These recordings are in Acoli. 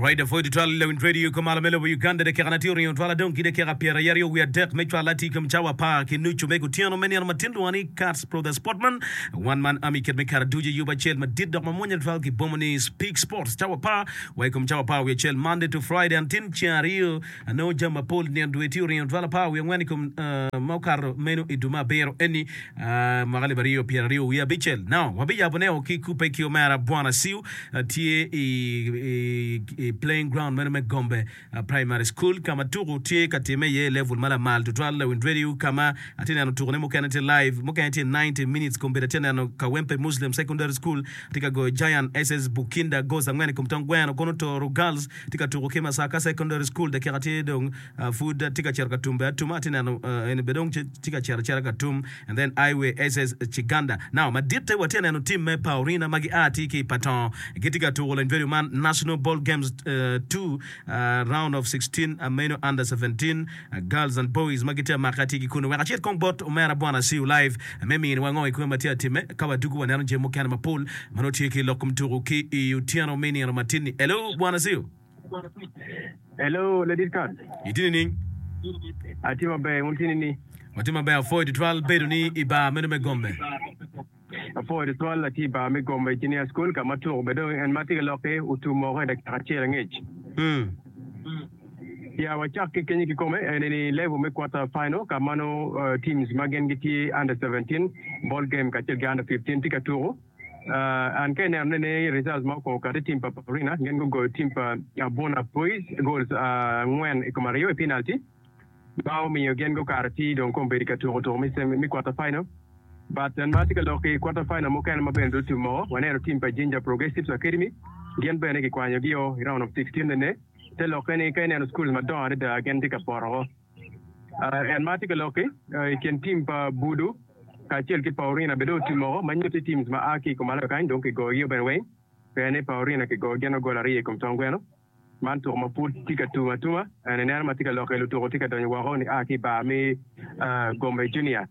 Right apwoyo tutwal Lewin Radio ka malo me lobo Uganda dakika na tye oringo twal adong ki dakika pyeraryo wiye adek me cwal atir kom cawa apar ki nucu me kutyeno me nino matin lwongo ni Cats Pro The Sportman One Man Army kit me kare ducu yub acel madit dok mamwonya tutwal ki bomo ni Speak Sports cawa apar wa i kom cawa apar wiye acel Monday to Friday and tin ceng aryo anongo jami mapol nino dwe tye oringo twal apar wiye angwen i kom ma okato meno i dwe me abiro eni mwaka alip aryo pyeraryo wiye abicel. Now wabiyabone o ki kubbe ki omera Bwana Siu tye i playing ground meno me Gombe Primary School ka ma tuku tye ka timme iye i level ma lamal tutwal lawiny radio ka ma atye neno tukune mukene tye live mukene tye 90 minutes kombeddi atye neno Kawempe Muslim Secondary School tye ka goyo Giant SS Bukinda goals angwen i kom tong gweno kono Toro Girls tye ka tuku ki Masaka Secondary School dakika tye dong pud tye ka cito ka tum bene atuma atye neno eni bene dong tye ka cito acita ka tum and then Highway SS Kiganda now maditte watye ka neno team me Paorina ma gia atir ki i Patongo gitye ka tuko lony vedio man National Ball Games 2 round of 16 meno under 17 girls and boys ma gitye amaka atir ki kunu wek acit kong bot omera Bwana Siu live me miniwa ngo i kwe ma tye atime ka wadugu waneno jami mukene mapol ma nongo tye ki lok kom tuko ki i otyeno me nino matin-ni. Hello Bwana Siu. Hello ladit kat. Itye nining? Atye maber, wun tye nining? Watye maber, apwoyo tutwal bedo ni i bar meno me Gombe. Apwoyo tutwal, atye i bar me Gombe Junior School ka ma tuko bene dong en ma atye ka lok-ki otum woko i dakika acel angec. Ya wacak ki kenyo kikome eni ni level me quarter final ka ma nongo teams ma gin gitye under 17 ball game kacel ki under 15 tye ka tuko. An ka ineno ni results ma okwongo kati team pa Paulina gin gugoyo team pa Abuna Boys goals angwen i kom aryo i penalty ma omiyo gin gukato ci dong kombeddi ka tuko tuko me quarter final. But en ma atye ka lok i quarter final mukene ma bene otum woko waneno team pa Jinja Progressives Academy gin bene kikwanyogi-o i round of 16 nene te lokke ni ka ineno schools madongo adada gin tye ka poto woko. En ma atye ka lok-ki, i kin tim pa Budu kacel ki Paurina bene dong otim woko ma nyutti teams ma a ki i kumalo kany dong kigoyogi bene weng pien ni Paurina kigoyo gin gol aryo i kom tong gweno. Man tuko ma pud tye ka tum atuma en ineno ma tye ka lokke lutuko tye ka donyo woko ni a ki i bar me Gombe Junior.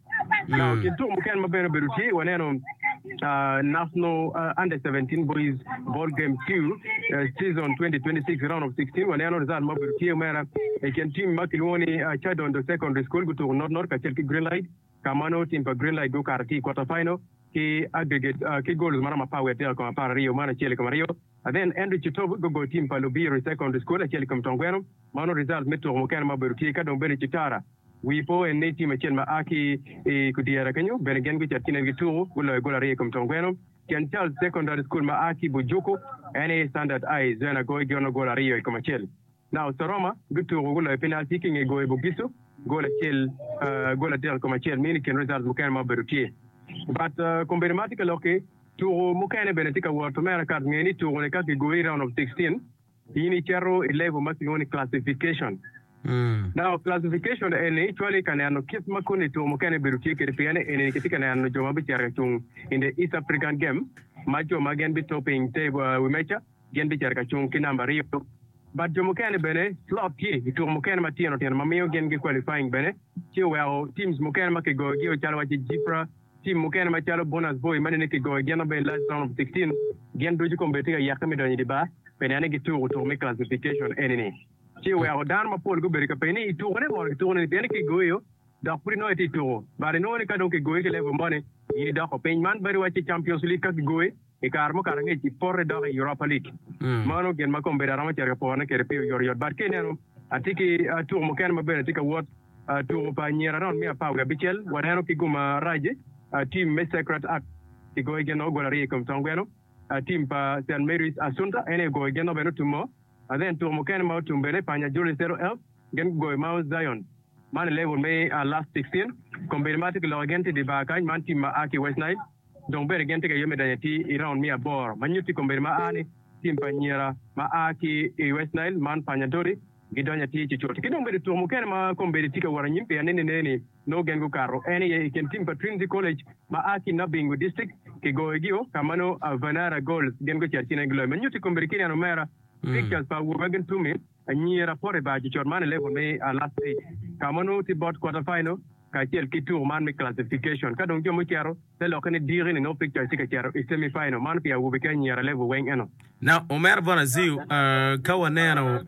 Now kin tuko mukene ma bene obedo tye waneno National Under 17 Boys Ball Game 2 Season 2026 Round of 16 waneno result ma obedo tye omera i kin team ma kilwongo ni Kyadondo Secondary School gutuko not not kacel ki Green Light ka ma nongo team pa Green Light gukato ki i quarter final ki aggregate ki goals maromo apar wiye adek i kom apar aryo man acel i kom aryo then Andrew Chitobu gugoyo team pa Lubiro Secondary School acel i kom Tongweno mano result me tuko mukene ma obedo tye ka dong bene Kitara Wi po en ni tim acel ma a ki i Kudyera kenyo bene gin gucito ci nen gituko, guloyo gol aryo i kom Tongweno. St. Charles Secondary School ma a ki Bujuku en aye Standard High Zwena goyo gin gol aryo i kom acel. Now Soroma gutuko guloyo penalti ki i nge goyo Bugisu gol acel gol adek i kom acel mini i kin results mukene ma obedo tye. But kombeddi ma atye ka lok-ki, tuko mukene bene tye ka wot omera kat nge ni tuko-ni ka kigoyi i round of 16 In icito i level ma kilwongo ni classification. Now classification eni cwali ka neno kit ma koni tuko mukene bedo tye kwede pien eni kitye ka neno jo ma bicito ka cung in the East African game ma jo ma gin bi topping table wi meja gin bicito ka cung ki namba aryo but jo mukene bene slot tye i tuko mukene matino tino ma miyo gin gi qualifying bene ci oweko teams mukene ma kigoyogi calo waci Jipra Tim mukene macalo Bonus Boy ma nene kigoyo gin maber i last round of 16 gin ducu kombeddi tye ka yeke me donyo i dye bar pi neno ni gituko tuko me classification eni-ni. Ci oweko dano mapol gubedo ka penyo ni i tukone mono kituko nini pien ni kigoyo dok pud inongo itye i tuko but inongo ni ka dong kigoyi ki level moni in idoko piny. Man bedo wacci Champions League ka kigoyi i kare mukato angec ipoto idok i Europa League. Mano gin ma kombeddi aromo cito ka porone kwede pi oyotoyot but ka ineno atye ki tuko mukene ma bene tye ka wot. Tuko pa anyira round me apar wiye abicel waneno ki gum marac tim me Sacred Heart kigoyo gin gol aryo i kom tong gweno. Tim pa St Mary's Assunta en aye ogoyo gin bene otumo. Then tuko mukene ma otum bene Panya Juli Zero Elf gin gugoyo Mount Zion man i level me last 16. Kombeddi ma atye ka loko gin tye i dye bar kany man tim ma a ki i West Nile dong bene gin tye ka yubbe me donyo atir i round me aboro ma nyutti kombeddi ma a ni tim pa anyira ma a ki i West Nile man Panya Dori Gidonyo atir cucut. Ki dong bedo tuko mukene ma kombeddi tye ka wot anyim pien ni nene-ni nongo gen gukato en aye i kin tim pa Trinity College ma a ki Nabingo District kigoyogio ka ma nongo Vanara Goals gin gucito ci nen giloyo. Ma nyutti kombeddi ki neno omera pictures pa awobe ma gin tumi anyira poto i bar cucut man i level me last eight ka ma nongo tye bot quarter final. kacel ki tuko man me classification. Ka dong jo mucito, te lokke ni diki ni nongo pictures tye ka cito i semi final. Man pi awobe ki anyira level weng eno. Now, omera bot Aziu, ka waneno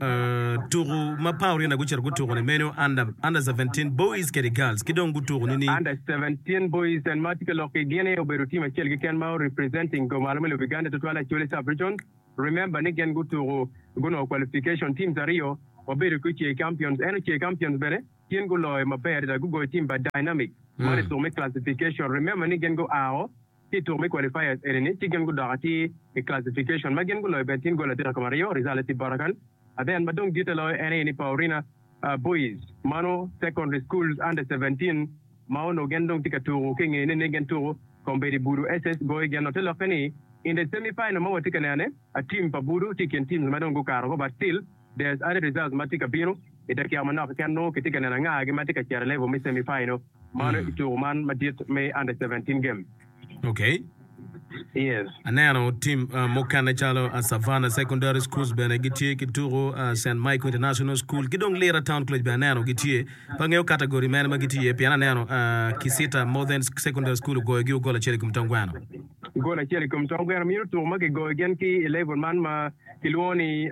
tuku ma Paurina gucito gutuku ni meno under, under 17 boys kede girls ki dong gutuku ni ni. Under 17 boys en ma tye ka lok ki gin aye obedo team acel keken ma representing go malo me lobo Uganda tutwal Acholi sub region. Remember ni gin gutuku gunongo qualification teams aryo wabedo ki Ocei Champions en Ocei Champions bene gin guloyo maber adada gugoyo team pa Dynamic man i tuku me classification. Remember ni gin guao ki i tuku me qualifiers eni ni ci gin gudok atir i classification ma gin guloyo bene tin gol 3-2 result tye bota kany. Then ma dong ditte loyo en aye ni Paurina Boys mano secondary schools under 17 ma onongo gin dong tye ka tuku ki nge ni gin tuku kombeddi Budu SS goyo gin no te lokke ni in the semi final ma watye ka nene team pa Budu tye i kin teams ma dong gukato woko but still there's other results ma tye ka bino i dakika manok keken nongo kitye ka neno angagi ma tye ka cito i level me semi final mano i tuku man madit me under 17 game. Okay. Yes. Aneno tim mukene calo Savannah Secondary Schools bene gitye ki tuku, St. Michael International School ki dong Lira Town College bene aneno gitye. Pe angeyo category mene ma gitye iye pien aneno Kisita Modern Secondary School ogoyogi gol acel i kom tong gweno. Gol acel i kom tong gweno myero tuku ma kigoyo gin ki i level man ma kilwongo ni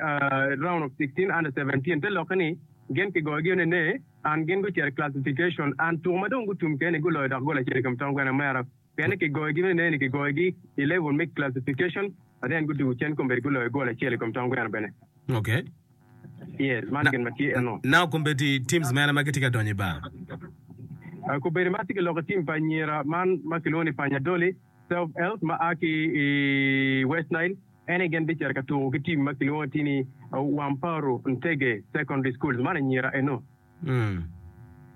round of 16 under 17 te lokke ni gin kigoyogi nene and gin gucito i classification and tuku ma dong gutum kene guloyo dok gol acel i kom tong gweno omera pien ni kigoyogi nene ni kigoyogi i level me classification and then gudugo cen kombeddi guloyo gol acel i kom tong gweno bene. Okay. Yes, man gin ma tye eno. Now kombeddi teams mene ma gitye ka donyo i bar? Kombeddi ma atye ka loko team pa anyira man ma kilwongo ni Panyadoli Self Health ma a ki i West Nile en aye gin bicito ka tuko ki team ma kilwongo tye ni Wamparu Ntege Secondary Schools man anyira eno.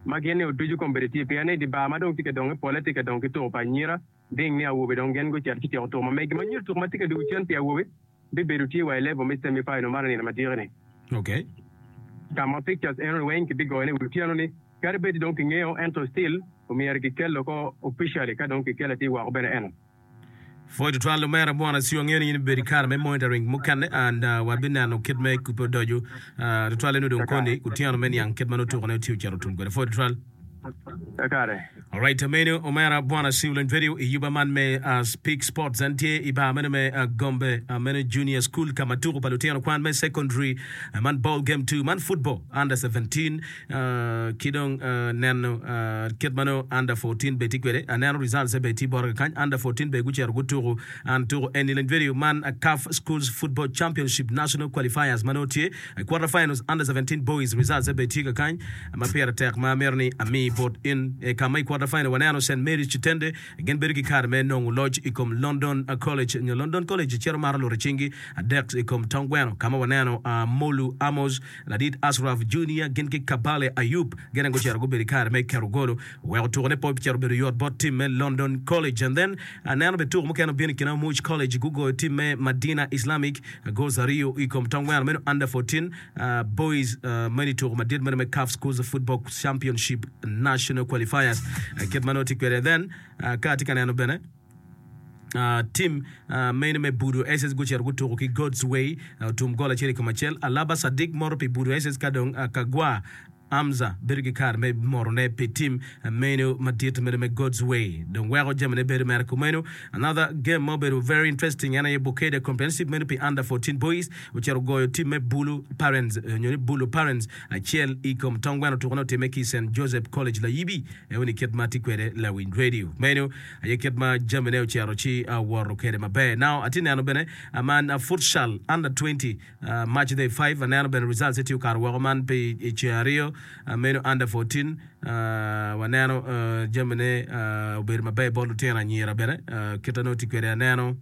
Ma gin ni oducu kombeddi tye pien ni i di bar ma dong tye ka donge pole tye ka dong ki tuko pa anyira ding ni awobe dong gin gucito ci tyeko tuko ma megi ma nyuto tuko ma tye ka dugo cen pi awobe bibedo tye wa i level me semi final man i nino madiki ni. Okay. Ka ma pictures eno ni weng kibigoyo ne i wi otyeno ni kadi bed dong kingeyo ento still omyero kikel oko officially ka dong kikelo atir woko bene eno. Pwoc tutwal omera Bwana Siu angeyo ni in ibedo i kare me monitoring mukene and wabineno kit me kubbe odoco tutwalle nongo dong koni otyeno me niang kit ma nongo tukone tye ocito otum kwede. Pwoc tutwal. Kakare. Alright, meno omera Bwana Siu Lony Radio i yuba man me Speak Sports. En tye i bar meno me Gombe meno Junior School ka ma tuko pa lutino kwan me secondary man ball game 2 man football under 17 ki dong neno kit ma nongo under 14 bene tye kwede. Aneno results bene tye bota kakany under 14 bene gucito gutuko and tuko eni Lony Radio man CAF Schools Football Championship National Qualifiers ma nongo tye I quarter finals under 17 boys results bene tye kakany ma pire tek ma amito ni ami bot in. I ka ma i quarter final waneno St Mary's Kitende gin bedo ki kare me nongo loc i kom London College nyo London College cito maro luto cingi adek i kom tong gweno ka ma waneno Molu Amos, Ladit Ashraf Junior gin ki Kabale Ayub gin aye gucito gubedo i kare me keto golo weko tukone pe ocito obedo yot bot tim me London College and then aneno bene tuko mukene obino i kine Omuc College gugoyo tim me Madina Islamic Goals aryo i kom tong gweno meno Under 14 Boys meno i tuko madit meno me CAF Schools Football Championship National Qualifiers kit ma nongo tye kwede. Then ka atye ka neno bene tim meno me Budo SS gucito gutuko ki God's Way otum gol acel i kom acel. Alaba Sadiq moto pi Budo SS ka dong Kagwa Amza bedo ki kare me morone pi tim meno madit meno me God's Way dong weko jamine bedo mere kumeno. Another game ma obedo very interesting en aye Bukedea Comprehensive meno pi under 14 boys ocito ogoyo tim me Bulu Parents nyo ni Bulu Parents acel i kom tong gweno tukone otimme ki Saint Joseph College Layibi eo ni kit ma tye kwede lawiny radio meno aye kit ma jamine ocito ci woto kwede maber. Now atye neno bene man futsal under 20 March day 5 aneno bene results tye okato woko man pi i ceng aryo meno under 14 waneno jamine obedo maber bot lutino anyira bene kite nongo tye kwede aneno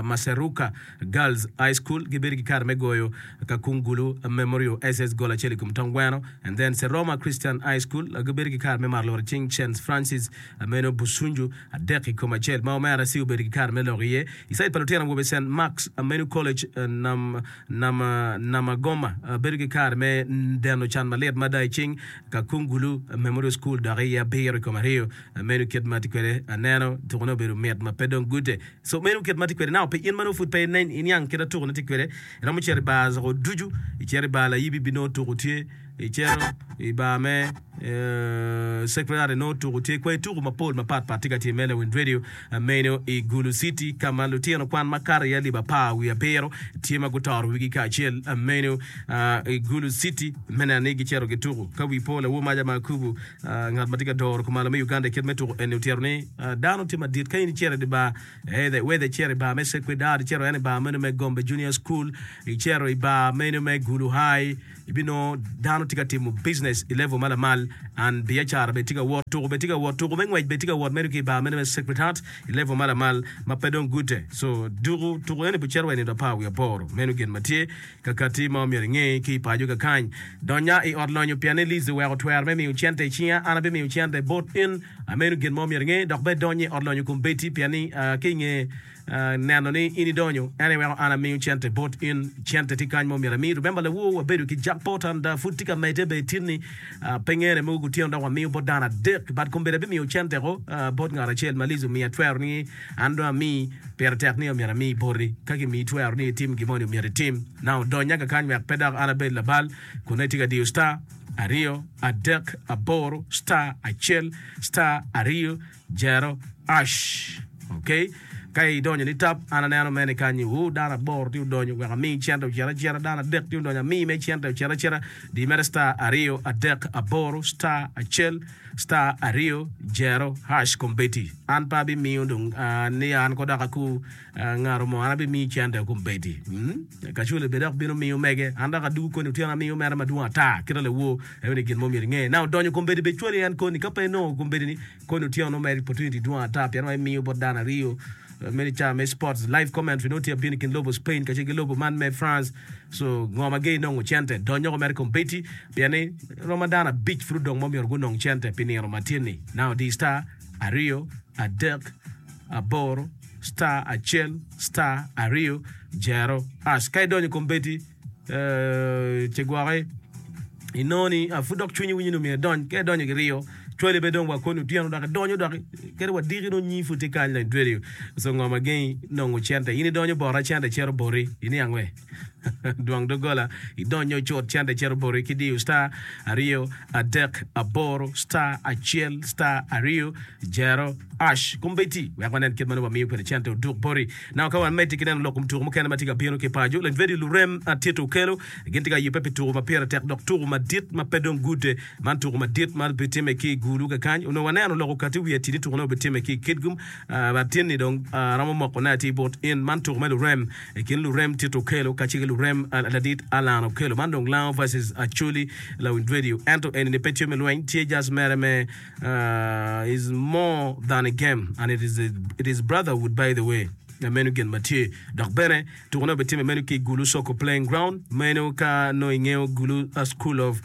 Maseruka Girls High School gibedo ki kare me goyo Kakungulu Memorial SS gol acel i kom tong gweno and then Seroma Christian High School gibedo ki kare me mato lworo cing St Francis meno Busunju adek i kom acel ma omera ci obedo ki kare me lok iye. I cait pa lutino awobe Cent Marks Menu College, Namagoma bedo ki kare me deno can malit mada i cing Kakungulu Memorial School dok iye abiro i kom aryo. Meno kit ma tye kwede aneno tukone obedo mit ma pe dong gute. So meno kit ma tye kwede. Now pi in ma nongo pud pe iniang kit ma tukone tye kwede, iromo cito i bar zoko ducu, icito i bar layibi binongo tuko tye. Icito i bar me Sacred Heart inongo tuku tye kwai tuku mapol mapat pat tye ka timme lawiny radio meno i Gulu City ka ma lutino kwan makato iye alip 17 tye ma gutoro wigi kacel meno i Gulu City me neno ni gicito gituku. Ka wi po lawor maca ma Akubu ngat ma tye ka doro kumalo me Uganda i kit me tuku eni otyero ni dano tye madit ka in icito i dye bar Whether icito i bar me Sacred Heart, icito en i bar meno me Gombe Junior School, icito i bar meno me Gulu High, ibinongo dano tye ka timo business i level ma lamal and biacara bene tye ka wot, tuko bene tye ka wot, tuko me ngwec bene tye ka wot medo ki i bar meno me Sacred Heart i level ma lamal ma pe dong gute. So duku tuko eni bicito wa i nino 18. Meno gin ma tye ka kati ma omyero inge ki i paco kakany. Donya i ot lonyo pien ni Liz oweko twero me miyo cente i cinga, an abimiyo cente bot in. Meno gin ma omyero inge, dok bene donyo i ot lonyo kombeddi, pien ni ka i nge neno ni in idonyo, en aye weko an amiyo cente bot in. Cente tye kany ma omyero ami. Remember lawor, wabedo ki jackpot and pud tye ka medde bene tin-ni. Pe ngene mogo kutyeno dok wamiyo bot dano adek, but kombeddi abimiyo cente ko bot ngat acel ma Liz omiya twero ni an dong ami. Pire tek ni omyero ami boti. Ka gimiyi twero ni itim gin moni, omyero itim. Now donya kakany wek pe dok an abed labal kun nongo itye ka diyo star aryo adek aboro star acel star aryo jero ash ok ka idonyo ni tap an aneno mene kany wu dano aboro tye odonyo wek ami cente ocit acita dano adek tye odonyo ami me cente ocit acita di mere star aryo adek aboro star acel star aryo jero hash kombeddi an pe abimiyo dong ni an ko dok aku Ngat mo, an abimiyi cente kombeddi. Kacule bene dok bino miyo mege. An dok adugo koni otyeno amiyo mere madwong ata. Kita lawor, eno ni gin mo myero inge. Na odonyo kombeddi bed cwali en koni. Ka pe inongo kombeddi ni koni otyeno nongo mere opportunity dwong ata pien wa imiyo bot dano aryo meno i cawa me sports live commentary nongo tye abino i kin lobo Spain kacel ki lobo man me France. So ngo ma ge inongo cente? Dony oko mere kombeddi pien ni romo dano abic pud odong ma myero gunong cente pi nino matin-ni. Now di star aryo adek aboro star acel star aryo jero ash. Ka idonyo i kombeddi ci gwoki inongo ni pud dok cwinyi winyo ni omyero idony. Ka idonyo ki ryo cwali bene dong wa koni otyeno dok idonyo dok kadi wa diki nongo nyingi pud tye kany like dweri. So ngo ma gengi nongo cente? In idonyo bota cente cito boti iniang we? Dwong doggola idonyo cut cente cito boti ki diyo star aryo adek aboro star acel star aryo jero ash kombeddi wek wanen kit ma nongo wamiyo kwede cente oduk boti. Now ka wamedde ki neno lok kom tuko mukene ma tye ka bino ki paco, lany vedio lurem Tito Okello gin tye ka yubbe pi tuko ma pire tek dok tuko madit ma pe dong gude. Man tuko madit ma bitimme ki i Gulu kakany. Onongo waneno lok okati wiye atir ni tukone obitimme ki i Kitgum but tin-ni dong aromo mokone atir bot in. Man tuko me lurem I kin lurem Tito Okello kacel ki lurem ladit Alan Okello. Man dong Lango versus Acholi lawiny radio. Ento eni ni pe tye me lweny, tye just mere me is more than a game and it is a, it is brotherhood by the way. Meno gin ma tye. Dok bene tukone obitimme meno ki i Gulu Soccer Playing Ground. Meno ka nongo ingeyo Gulu School of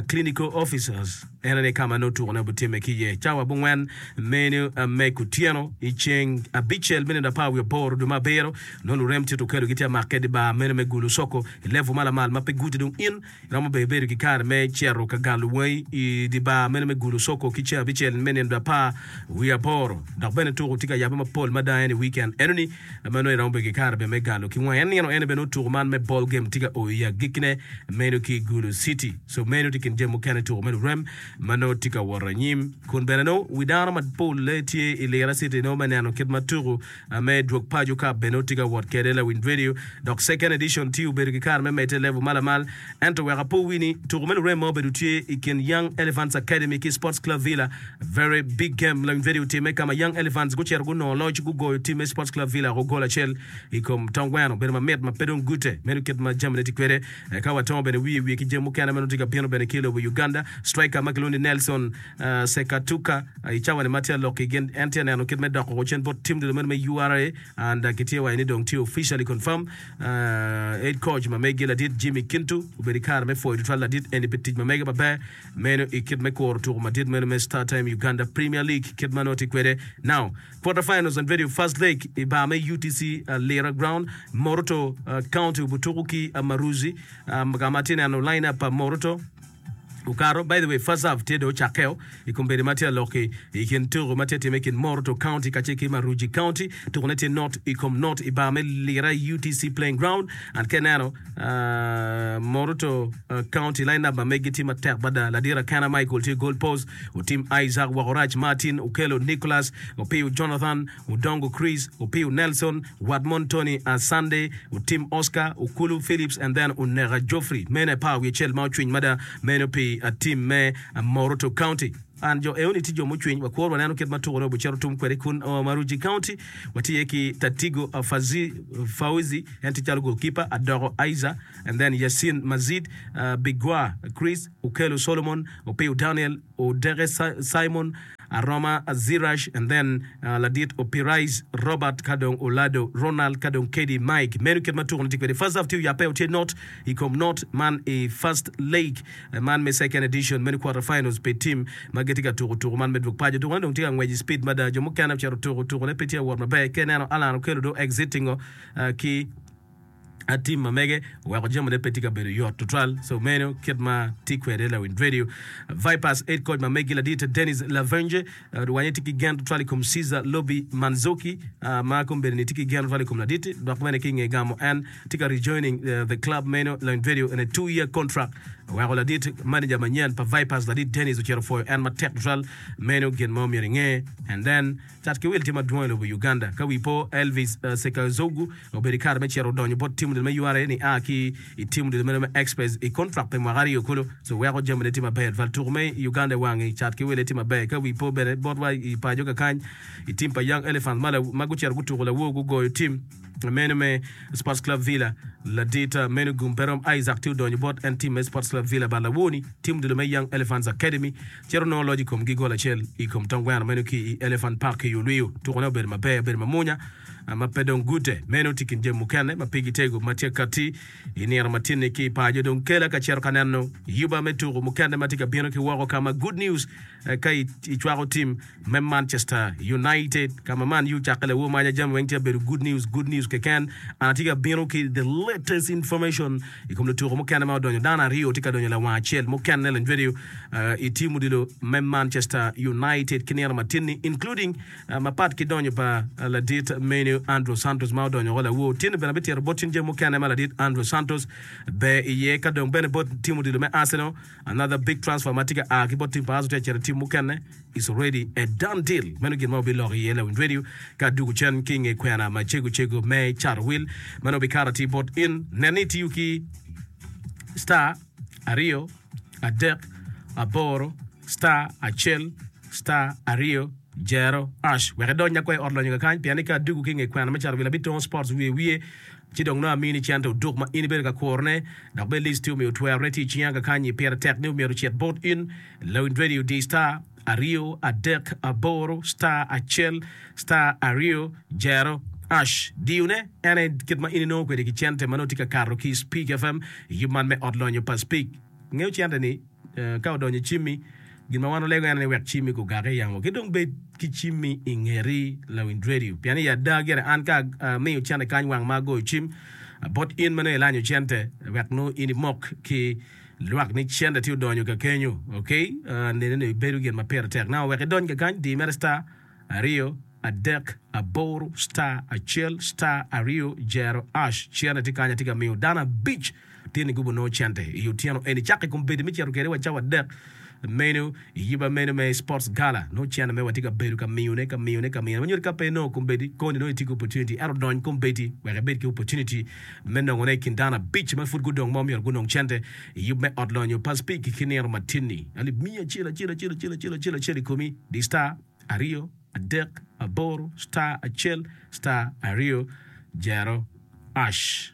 Clinical Officers. En aye ka ma nongo tukone obitimme ki iye. Cawa abongwen meno me kutyeno i ceng abicel me nino apar wiye aboro dwe me abiro, nongo lurem Tito Okello gitye amakke i dye bar meno me Gulu Soko i level ma lamal ma pe guti. Dong in iromo bene bedo ki kare me cito ka galo wangi i dye bar meno me Gulu Soko ki ceng abicel me nino 18. Dok bene tuko tye ka yabbe mapol mada en i weekend enoni ma nongo iromo bedo ki kare bene me galo ki wangi. En nino eni bene nongo tuko man me ball game tye ka o i agikkine meno ki Gulu City. So meno tye kin jami mukene tuko me lurem ma nongo tye ka wot anyim kun bene nongo wi dano mapolle tye i Lira City nongo me neno kit ma tuko me dwog paco cup bene nongo tye ka wot kwede lawiny radio dok second edition tye obedo ki kare me medde i level ma lamal ento wek apo wi ni tuko me lurem ma obedo tye i kin Young Elephants Academy ki Sports Club Villa very big game lawiny radio otimme ka ma Young Elephants gucito gunongo loc gugoyo team me Sports Club Villa woko gol acel i kom tong gweno obedo mamit ma pe dong gute meno kit ma jamine tye kwede. Ka watongo bene wiye wiye ki jami mukene ma nongo tye ka bino bene ki i lobo Uganda, striker ma kilwongo ni Nelson Sekatuka i cawa ni ma tye ka lok ki gin en tye ka neno kit me doko cen bot team dul meno me URA and kitye waco ni dong tye officially confirm. Head coach ma megi ladit Jimmy Kintu obedo i kare me pwoyo tutwal ladit eni pi tic ma mege maber meno i kit me kuro tuko madit meno me StarTime Uganda Premier League kit ma nongo tye kwede now. Quarter finals and video first leg i bar me UTC Lira Ground, Moroto County obutuku ki Maruzi ka ma atye neno line up pa Moroto. Okato. By the way, first half tye dong ocakkeo i kombeddi ma tye alok-ki i kin tuko ma tye timme i kin Moroto County kacel ki Maruji County. Tukone tye not i kom not i bar me Lira UTC Playing Ground. And ka ineno Moroto County line up ma meggi tye matek mada. Ladit Akena Michael tye goal post, Otim Isaac Wakorac, Martin Okello, Nicholas Opiyo, Jonathan Odongo Chris, Opiyo Nelson, Watmon Tony Asande, Otim Oscar, Okulu Philips and then Oneka Geoffrey. Meno aye par wiye acel ma ocwiny mada meno pi team me Moroto County. And jo eoni tye jo mucwiny wakwor waneno kit ma tukone obicito tum kwede kun Maruji County watye iye ki Tatigo Fazi Fauzi en tye calo goalkeeper, Adoko Aiza and then Yasin Mazid, Bigwa Chris, Okello Solomon, Opiyo Daniel, Odeke Simon, Aroma Zirash and then ladit Opirais Robert ka dong Olado Ronald ka dong Kedi Mike. Meno kit ma tuko ni tye kwede. First half tye oyabe tye not i kom not man i first leg man me second edition meno quarter finals pi team ma gitye ka tuko tuko man me dwog paco. Tuko ne dong tye ka ngwec i speed mada. Jo mukene ocito tuko tuko ne pe tye ka wot maber. Ka ineno Allan Okello dong exiting o ki Tim ma mege oweko jamine pe tye ka bedo yot tutwal. So meno kit ma tye kwede lawiny radio. Vipers head coach ma megi ladit Denis Lavenge wanye tye ki gen tutwal i kom Cesar Lobby Manzoki ma kombeddi ni tye ki gen tutwal i kom ladit dok bene ki nge gamo en tye ka rejoining the club meno lawiny radio in a 2 year contract oweko ladit manager manyen pa Vipers ladit Denis ocito pwoyo en matek tutwal meno gin ma omyero inge and then Cat ki wil tye madwong i lobo Uganda. Ka wi po, Elvis Sekazogu obedo i kare me cito odonyo bot tim odilo me URA nia ki i tim odilo meno me Express i kontrak pi mwaka aryo kulu. So weko jamine tye maber tutwal. Tuko me Uganda i wangi cat ki wile tye maber. Ka wi po bene botwa i paco kakany i tim pa Young Elephants ma ma gucito gutuko lawor gugoyo tim meno me Sports Club Villa ladit meno gum pe rom Isaac tye odonyo bot en tim me Sports Club Villa but lawor-ni tim odilo me Young Elephants Academy Cito onongo loc i komgi gol acel i kom tong gweno meno ki i Elephant Park i Ulwiyu. Tukone obedo maber, obedo mamwonya ma pe dong gute. Meno tye kin jami mukene ma pigi tego ma tye katti i nino ma tye-ni ki i paco. Dong kela ka cito ka neno yuba me tuko mukene ma tye ka bino ki woko ka ma Good News ka icwako tim me Manchester United ka ma Man U cakke lawor maca jami weng tye ka bedo good news, good news keken. An atye ka bino ki the latest information i kom lutuko mukene ma odonyo. Dano aryo tye ka donyo lawang acel mukene lanywedo i tim odilo me Manchester United ki nino matin-ni including mapat ki donyo pa ladit menu Andrew Santos ma odonyo woko lawor. Tin-ni bene abitito bot cen jami mukene ma ladit Andrew Santos ber iye ka dong bene bot tim odilo me Arsenal another big transfer ma tye ka a ki bot tim pa Arsenal tye ka cito i tim mukene. It's already a done deal. Meno gin ma wabiloko iye lawiny radio ka adugo cen ki i nge kwena macego cego me cato wil. Meno bikato atir bot in. Nen ni itiyo ki star aryo adek aboro star acel star aryo jero ash wek idony nyakwa i ot lonyo kakany pien ni ka adugo ki i nge kwena me cato wil abitongo sports wiye wiye ci dong nongo amini cente oduk ma in ibedo ka kurone dok bene list tye omiyo twerone tye i cinga kakanyi pire tek ni myero ocit bot in Lawiny Radio di star aryo adek aboro star acel star aryo jero ash diyo ne en aye kit ma in inongo kwede ki cente ma nongo tye ka kato ki Speak FM i yub man me ot lonyo pa Speak. Ngeyo cente ni ka odonyo i cimmi gin ma wan olego en aye ni wek cimmi gugake i yamo ki dong bed ki cimmi i ngeti Lawiny Radio pien i ada gire an ka amiyo cente kany wang ma agoyo cim bot in ma nongo ilanyo cente wek nongo in imok ki Lwak ni cente tye odonyo ka kenyo ok nene ni bedo gin ma pire tek now wek idony kakany di mere star aryo adek aboro star acel star aryo jero ash cente tye kany atye ka miyo dano abic tye ni gubo nongo cente i otyeno eni cako i kom bedi me cito kede wa cawa adek meno i yiba meno me sports gala nongo cente me watye ka bedo ka miyone ka miyone ka miyone ma nyuto ka pe inongo kombeddi koni nongo itye ki opportunity ento dony kombeddi wek ibed ki opportunity me nongone i kin dano abic ma pud gudong ma omyero gunong cente i yub me ot lonyo pa Speke ki nino matin-ni. Alip miya acel acel acel acel acel acel acel i komi di star aryo adek aboro star acel star aryo jero ash.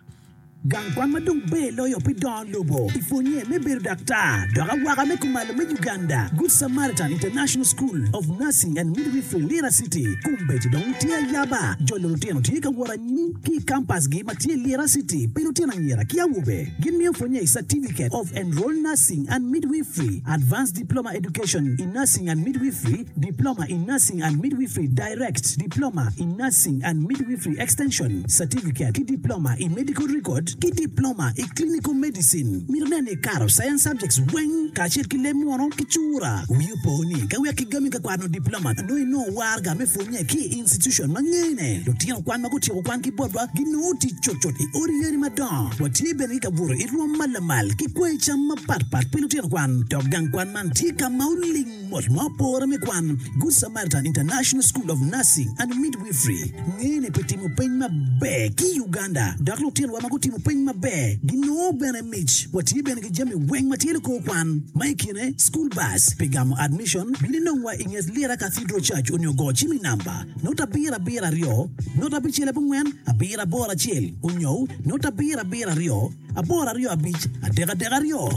Gang kwan ma dong ber loyo pi dongo lobo i pwonye me bedo daktar dok awaka me kumalo me Uganda, Good Samaritan International School of Nursing and Midwifery Lira City, kombeddi dong tye ayaba. Jolo lutino tye ka wot anyim ki i kampasgi ma tye i Lira City pi lutino anyira ki awobe. Gin miyo pwonye i Certificate of Enrolled Nursing and Midwifery, Advanced Diploma Education in Nursing and Midwifery, Diploma in Nursing and Midwifery Direct, Diploma in Nursing and Midwifery Extension, Certificate ki Diploma i Medical Record. Certificate ki Diploma i Clinical Medicine. Mito nen ni ikato Science Subjects weng kacel ki leb munu ki cura. Wii opo ni ka wek kigami ka kwano Diploma nongo inongo waraga me pwonye ki i institution ma ngene. Lutino kwan ma gutyeko kwan ki botwa ginongo tic cutcut i odi yadi madongo. Watye bene ki kabuto i rwom ma lamal ki kwayi cam mapat pat pi lutino kwan. Dok gang kwan man tye ka ma oling mot ma opore me kwan. Good Samaritan International School of Nursing and Midwifery ngene pi timo peny maber ki i Uganda dok lutinowa ma gutimo peny maber ginongo bene mic. Watye bene ki jami weng ma tye likor kwan ma i kine school bus pi gamo admission. Bin inongwa i nget Lira Cathedral Church onyo go cim i namba not abiro abiro aryo not abicel abongwen abiro aboro acel onyo not abiro abiro aryo aboro aryo abic adek adek aryo.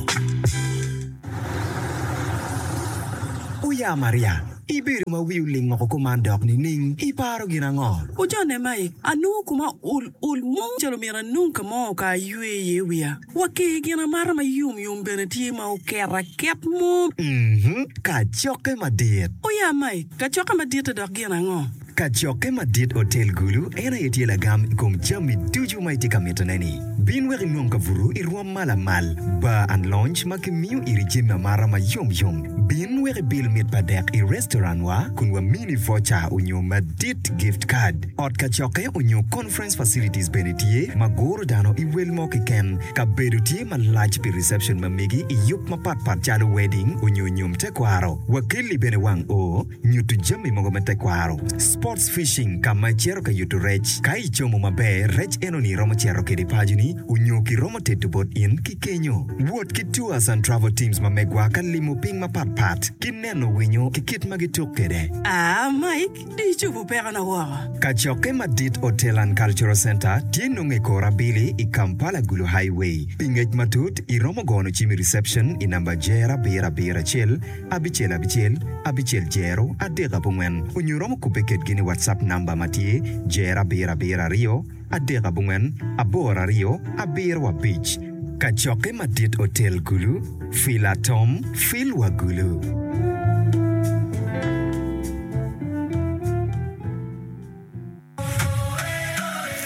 Oya Maria, ibedo ma wi oling woko kuman dok nining? Iparo gin ango? Ojone Mike, anongo koma ol ol mo calo myero anong ka mo ka aywe iye wiya. Wa ki gin amata ma yom yom bene tye ma oket aket mo. Mhm, kacokke madit. Oya Mike, kacokke madit-te dok gin ango? Kacokke madit Otel Gulu en aye tye lagam i kom jami ducu ma itye ka mitone-ni. Bin wek inong kabuto i rwom ma lamal, bar and lounge ma kimiyo iri jami amata ma yom yom. Bin wek ibil mit pa dek i restaurant wa kun wamini voucher onyo madit gift card. Ot kacokke onyo conference facilities bene tye ma guro dano i wel mo keken. Kabedo tye malac pi reception ma megi i yub mapat pat calo wedding onyo nyom tekwaro. Wakelli bene wang oo. Nyuto jami mogo me tekwaro. Sports fishing ka ma icito ka yuto rec. Ka icomo maber, rec enoni iromo cito kede paconi onyo kiromo teto bot in ki kenyo. Wot ki tours and travel teams ma megwa ka limo piny mapat pat ki neno winyo ki kit ma gituk kede. Aa Mike, di icobo pekona woko. Kacokke madit Hotel and Cultural Centre tye nongo i kor abili i Kampala Gulu Highway. Pi ngec matut, iromo gono cim i reception i namba jer abiro abiro acel, abicel abicel, abicel jero, adek abongwen, onyo iromo kubbe kedgi ni WhatsApp namba ma tye jero abiro abiro aryo, adek abongwen, aboro aryo, abiro abic. Kacokke madit otel Gulu, Fil atom, fil wa Gulu.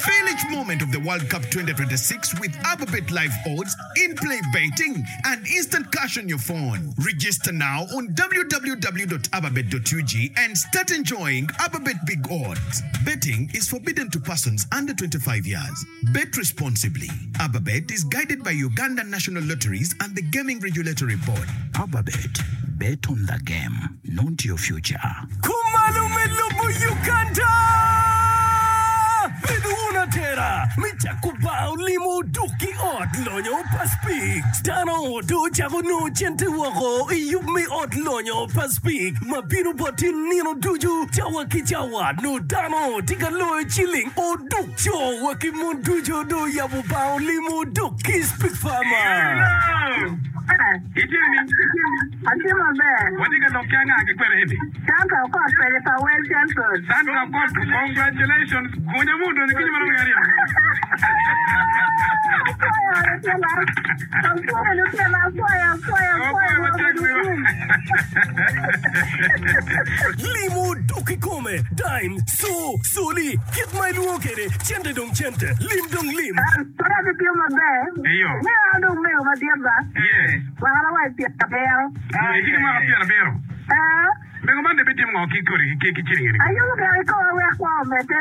Feel each moment of the World Cup 2026 with Ababet Live Odds, in-play betting, and instant cash on your phone. Register now on www.ababet.ug and start enjoying Ababet Big Odds. Betting is forbidden to persons under 25 years. Bet responsibly. Ababet is guided by Uganda National Lotteries and the Gaming Regulatory Board. Ababet, bet on the game, not your future. Kumalo me lobo Uganda! Bed wun atera me cako bar olimo duk ki ot lonyo pa Speke. Dano dong ocako nongo cente woko i yub me ot lonyo pa Speke ma bino boti nino ducu cawa ki cawa. Nongo dano tye ka loyo ciling oduk. Co wa ki mon ducu dong oyabo bar olimo duk ki Speke Farmer. Atye maber. Watye ka lok ki anga ki kwene eni? Sandra Okot pede pa Well Central. Sandra Okot, congratulations. Gunya mu odonyo kinyo marom ki aryo. Apwoyo lutino. Apwoyo lutino, apwoyo, apwoyo, apwoyo. Apwoyo matek wiwa. Limo dok kikome, dime, co, coli, kit ma ilwongo kwede, cente dong cente, lim dong lim. Pud atye maber. Iyo. Meno an dong mego madit ba. Yes. Mwakana wa i pyerabiro. Itye ki mwaka pyerabiro? Ee. Mego man dong ibitimo ngo ki kodi ki ciling eni? Ayubo gire ki koma wek kwo omedde.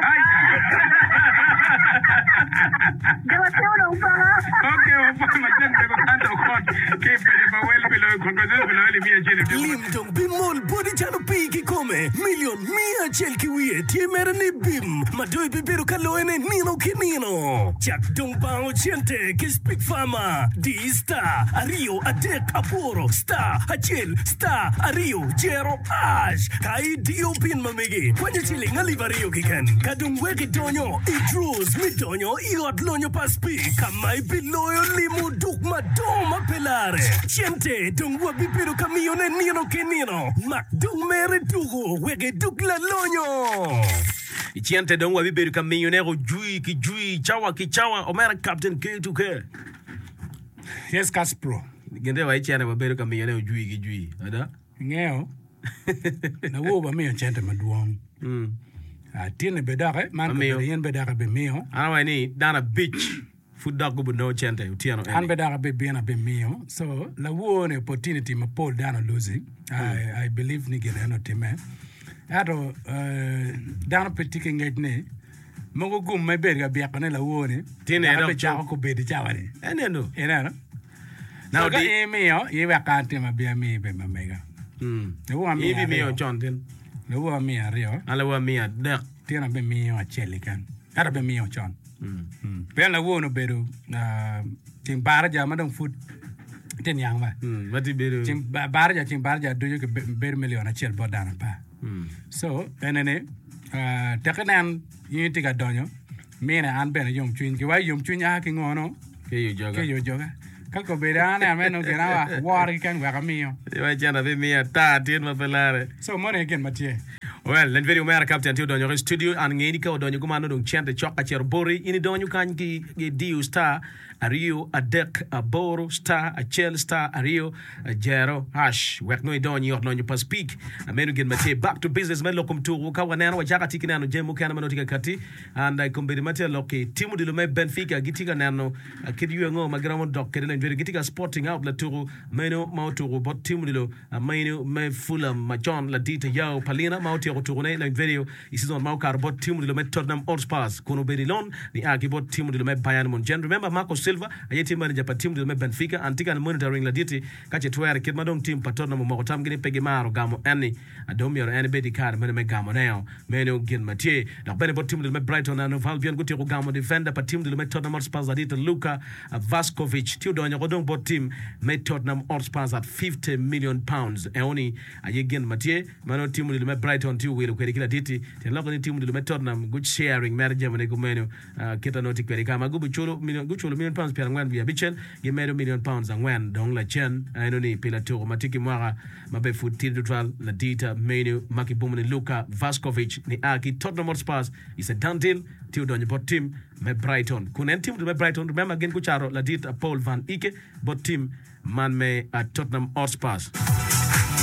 Jo matino dong paka. Ok, wapwoyo matek mego Santa Okot ki i paco pa Wel pi loyo congratulations pi loyo alip miya acel i odiko Lim dong bimol boti calo pii kikome. Milion miya acel ki wiye tye mere ni bim ma dong ibibedo ka loyone nino ki nino. Cak dong bango cente ki Speak Farmer. Di star aryo adek aboro star acel star aryo jero ash ka idiyo pin ma megi kwanyo ciling alip aryo keken ka dong wek idonyo i draws me donyo i ot lonyo pa Speak ka ma ibiloyo limo duk madongo ma pe lare. Cente dong wabibedo ka miyone nino ki nino. Mak dong mere tuko wek iduk lalonyo. I cente dong wabibedo ka miyone jwi ki jwi, cawa ki cawa. Omera Captain K2K. Yes, Caspro. Gin te wa i cente wabedo ka miyone ojwi ki jwi. Ada? Ingeyo, lawo wamiyo cente madwong. Atinni be doki, man Wamiyo. kabedo in be doki ibimiyo. An awaco ni dano abic. Pud dok gubinongo cente otyeno An eni. be dok abibino abimiyo. So lawor ni opportunity mapol dano oluzi. I, I believe ni gin eno otimme. Ento eh, dano pe tye ki ngec ni mogo gum ma ibedo ka byeko ni lawor ni Tye ne dok dok abicako kobedo i cawa ni. Eneno. Ineno? Now So ka di- in imiyo, in wek an tim abi amiyi be ma mega. Lawor amiyo In ibimiyo aryo. con tin. Lawor amiyo aryo. An lawor amiyo adek. Tin abimiyo acel keken. Ento abimiyo con. Pien lawor obedo ceng baraja ma dong pud tye niang ba. Ceng baraja ceng baraja ducu bedo milion acel bot dano apar. So ene ni tek inen in itye ka donyo mine an bene yomcwiny giwaco yomcwiny a ki ngo no? Ki i ojoga. Ka kobedo an aneno mere nongo gin awa woro keken wek amiyo. Iwaci cente abimiyo ata tin ma pe lare. So moni aye gin ma tye. Well, en video omera Captain tye odonyo i studio an ngeyi ni ka odonyo kuman nongo dong cente cok ka cito boti. In idonyo kany ki idiyo star aryo adek aboro star acel star aryo jero hash wek nongo idony i ot lonyo pa Speak. Meno gin ma tye back to business me lok kom tuku ka waneno wacako atye ki neno jami mukene ma nongo tye ka kati and i kombeddi ma tye ka lok ki tim odilo me Benfica gitye ka neno Kit yo ango ma giromo dok kwede lony bedo gitye ka spotting out latuku meno ma otuku bot tim odilo meno me Fulham macon ladit Ayao Palina ma otyeko tukune lony bedo i season ma okato bot tim odilo me Tottenham Hotspurs kun obedo i loan nia ki bot tim odilo me Bayern Munchen. Remember Marco Silva aye tye manager pa tim odilo me Benfica and tye ka monitoring laditi ka ce twere kit ma dong tim pa Tottenham omoko tamgi ni pe gimaro gamo en ni dong myero en ebed ki kare meno me gamone. Meno gin ma tye. Dok bene bot tim odilo me Brighton and Hove Albion gutyeko gamo difenda pa tim odilo me Tottenham Hotspurs ladit Luka Vaskovic tye odonyo oko dong bot tim me Tottenham Hotspurs at £50 million. Eoni aye gin ma tye ma nongo tim odilo me Brighton tye owilo kwede ki ladit-ti. Tyen lokke ni tim odilo me Tottenham gu sharing mere jamine kumeno kit ma nongo tye kwede ka ma gubiculo guculo million pounds pyerangwen wiye abicel gimedo million pounds angwen dong lacen enoni pi latuko ma tye ki mwaka ma be pud tidi tutwal, ladita menu ma kibumo ni Luka Vaskovic nia ki Tottenham Hotspurs is a done deal tye odonyo bot tim me Brighton. Kun en tim me Brighton, remember gin gucato ladit Paul Van Ike bot tim man me Tottenham Hotspurs.